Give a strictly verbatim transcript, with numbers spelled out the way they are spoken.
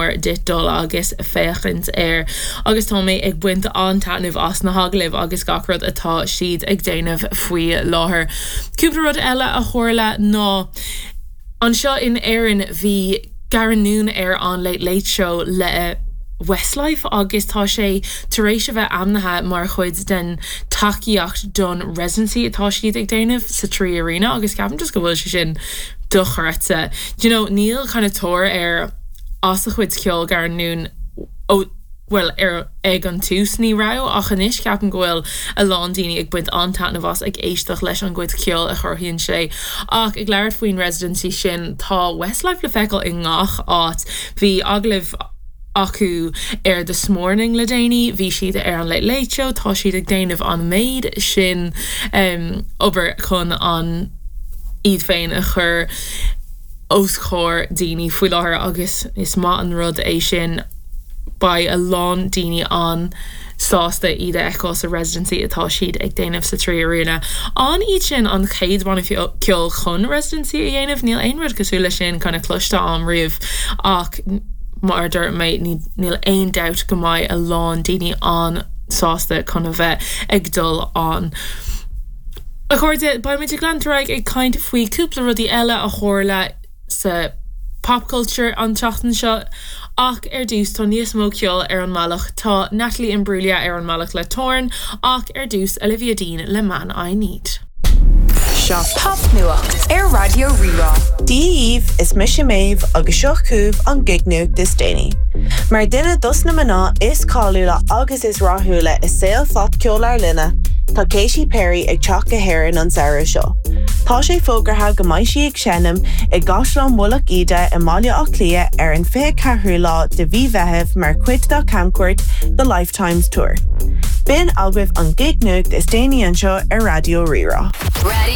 mór duit dul agus féachaint air agus tá mé ag baint an-taitneamh as na hagallaimh agus gach rud atá siad ag déanamh faoi láthair. Cúpla rud eile a tharla ná anseo in Éirinn bhí Garren Noone ar an Late Late Show le Westlife agus tá sé tar éis a bheith ainmnithe mar chuid den tacaíocht don residency atá siad ag déanamh sa Three Arena agus ceapaim just go bhfuil sé sin dochreidte. You know, níl kind of tóir ar as a chuid ceoil Garren Noone ó well ar ag an tús ní raibh ach anois ceapaim go bhfuil a lán daoine ag baint an-taitneamh as ag éisteacht leis an gcuid ceoil a chruthaíonn sé ach ag labhairt faoin residency sin tá Westlife le feiceáil i ngach áit bhí agallamh acu ar This Morning le déanaí bhí siad ar an Late Late Show tá siad ag déanamh an méid sin um, obair chun an iad féin a chur os comhair daoine faoi láthair agus is maith an rud é sin beidh a lán daoine an-sásta iad a fheiceáil sa residency atá siad ag déanamh sa Three Arena. An iad sin an chéad bhanna ceoil chun residency a dhéanamh níl aon rud cosúil leis sin kind of cloiste agam riamh ach mar dúirt mé níl aon dabht go mbeidh a lán daoine an-sásta chun a bheith ag dul ann. A chairde beimid ag leanúint ar aghaidh ag caint faoi cúpla rudaí eile a tharla sa popculture an tseachtain seo ach ar dtús tá níos mó ceoil ar an mbealach tá Natalie Imbruglia ar an mbealach le Torn ach ar dtús Olivia Dean le Man I Need. Seo popnuacht ar Raidió Rí-Rá. Dia daoibh is mise Méabh agus seo chugaibh an gig-nuacht is déanaí. Mar duine dos na mná is cáiliúla agus is rathúla i saol phopcheol ár linne, tá Katy Perry ag teacht go hÉirinn an samhradh seo. Tá sé fógartha go mbeidh sí ag seinm i gCaisleán Mhullach Íde i mBaile Átha Cliath ar an fiche ceathrú lá de mhí Mheithimh mar chuid dá camchuairt The Lifetimes Tour. B'in agaibh an gig-nuacht is déanaí anseo ar Raidió Rí-Rá. Radio